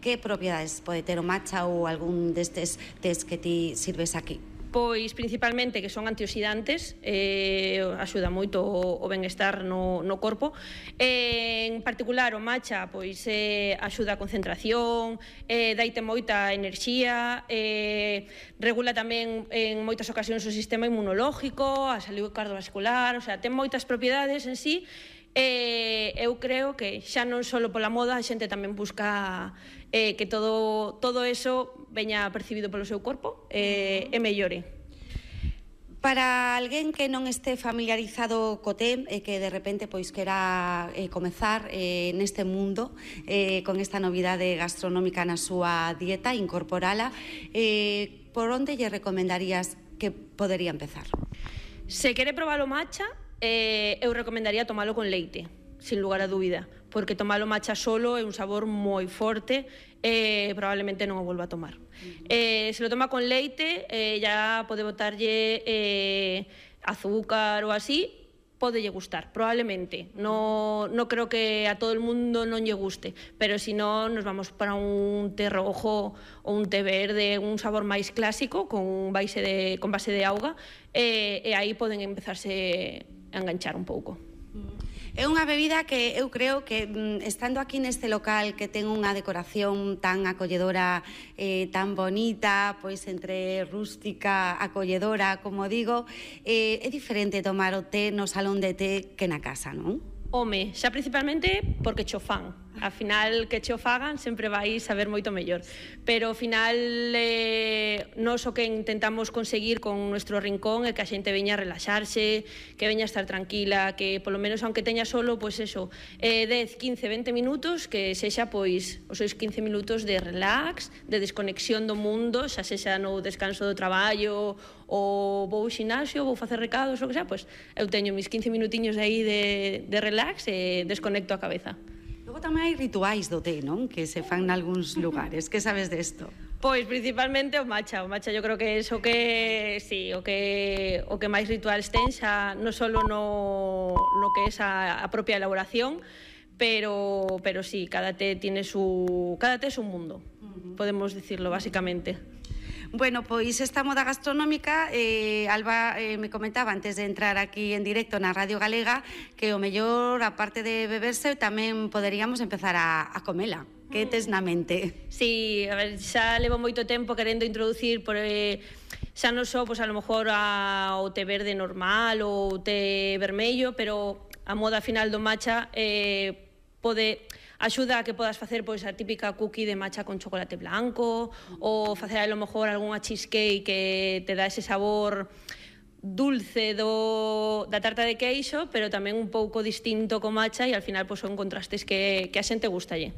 que propiedades pode ter o matcha ou algún destes tés que ti sirves aquí? Pois principalmente que son antioxidantes, axuda moito o benestar no corpo. En particular o matcha pois axuda a concentración, daite moita enerxía, regula tamén en moitas ocasións o sistema inmunolóxico, a saúde cardiovascular, o sea, ten moitas propiedades en sí. Eu creo que xa non só pola moda, a xente tamén busca que todo eso veña percibido polo seu corpo e mellore. Para alguén que non este familiarizado co té e que de repente pois quera comezar neste mundo con esta novidade gastronómica na súa dieta, incorporala, por onde lle recomendarías que podería empezar? Se quere probar o matcha, eu recomendaría tomalo con leite, sin lugar a dúbida, porque tomalo matcha solo é un sabor moi forte e probablemente non o volva a tomar. Se lo toma con leite, ya pode botarlle azúcar ou así, podelle gustar, probablemente. No creo que a todo el mundo non lle guste, pero si non, nos vamos para un té rojo ou un té verde, un sabor máis clásico con base de auga, e aí poden empezarse a enganchar un pouco. É unha bebida que eu creo que estando aquí neste local que ten unha decoración tan acolledora, tan bonita, pois entre rústica, acolledora, como digo, é diferente tomar o té no salón de té que na casa, non? Home, xa principalmente porque cho fan. Ao final, que cho fagan sempre vai saber moito mellor. Pero ao final, nós o que intentamos conseguir con nuestro rincón é que a xente veña a relaxarse, que veña a estar tranquila, que polo menos, aunque teña solo, pois eso, 10, 15, 20 minutos, que sexa, pois, os seus 15 minutos de relax, de desconexión do mundo, xa sexa no descanso do traballo, ou vou ao xinasio, vou facer recados, o que sea, pois, eu teño mis 15 minutiños aí de relax e desconecto a cabeza. Logo tamén hai rituais do té, non? Que se fan nalgúns lugares. Que sabes desto? Pois principalmente o matcha. O matcha yo creo que é o que máis rituales ten, xa non só no que é a propia elaboración, pero sí, cada té es un mundo, podemos decirlo basicamente. Bueno, pois esta moda gastronómica, Alba me comentaba antes de entrar aquí en directo na Radio Galega que o mellor, aparte de beberse, tamén poderíamos empezar a comela. Que tes na mente? Sí, a ver, xa levo moito tempo querendo introducir xa non só, pois, a lo mellor o té verde normal ou o té vermello, pero a moda final do matcha axuda a que podas facer pois a típica cookie de matcha con chocolate blanco, ou facer a lo mellor algunha cheesecake que te dá ese sabor dulce da tarta de queixo, pero tamén un pouco distinto co matcha, e ao final pois son contrastes que a xente gustalle.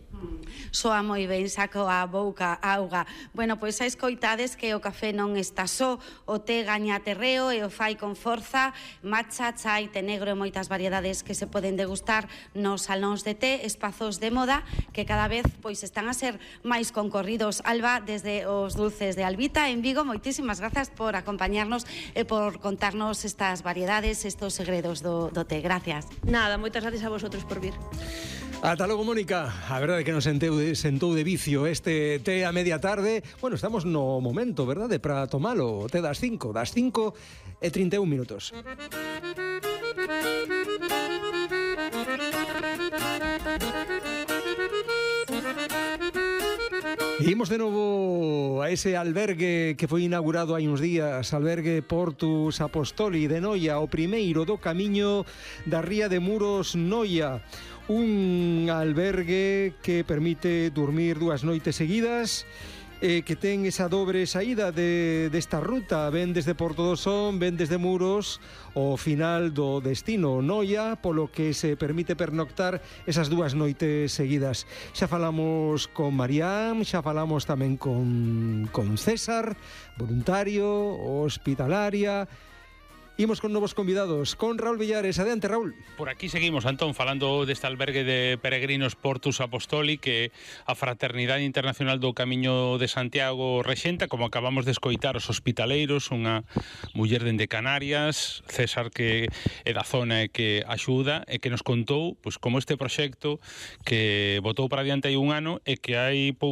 Soa moi ben, saco a boca auga. Bueno, pois xa escoitades que o café non está só, o té gaña terreo e o fai con forza, matcha, chai, té negro e moitas variedades que se poden degustar nos salóns de té, espazos de moda que cada vez pois están a ser máis concorridos. Alba, desde os dulces de Albita en Vigo, moitísimas grazas por acompañarnos e por contarnos estas variedades, estos segredos do té. Gracias. Nada, moitas gracias a vosotros por vir. Ata logo, Mónica. A verdade é que nos sentou de vicio este té a media tarde. Bueno, estamos no momento, verdade, para tomalo. O té das 5 e 31 minutos. E imos de novo a ese albergue que foi inaugurado hai uns días, albergue Portus Apostoli de Noia, o primeiro do camiño da ría de Muros, Noia. Un albergue que permite dormir 2 noites seguidas, que ten esa dobre saída desta ruta, ven desde Porto do Son, ven desde Muros, o final do destino Noia, polo que se permite pernoctar esas 2 noites seguidas. Xa falamos con Marián, xa falamos tamén con César, voluntario, hospitalaria. Imos con novos convidados, con Raúl Villares. Adiante, Raúl. Por aquí seguimos, Antón, falando deste albergue de peregrinos Portus Apostoli que a Fraternidade Internacional do Camiño de Santiago rexenta, como acabamos de escoitar, os hospitaleiros, unha muller dende Canarias, César, que é da zona e que axuda e que nos contou pois como este proxecto que botou para diante hai un ano e que hai pouco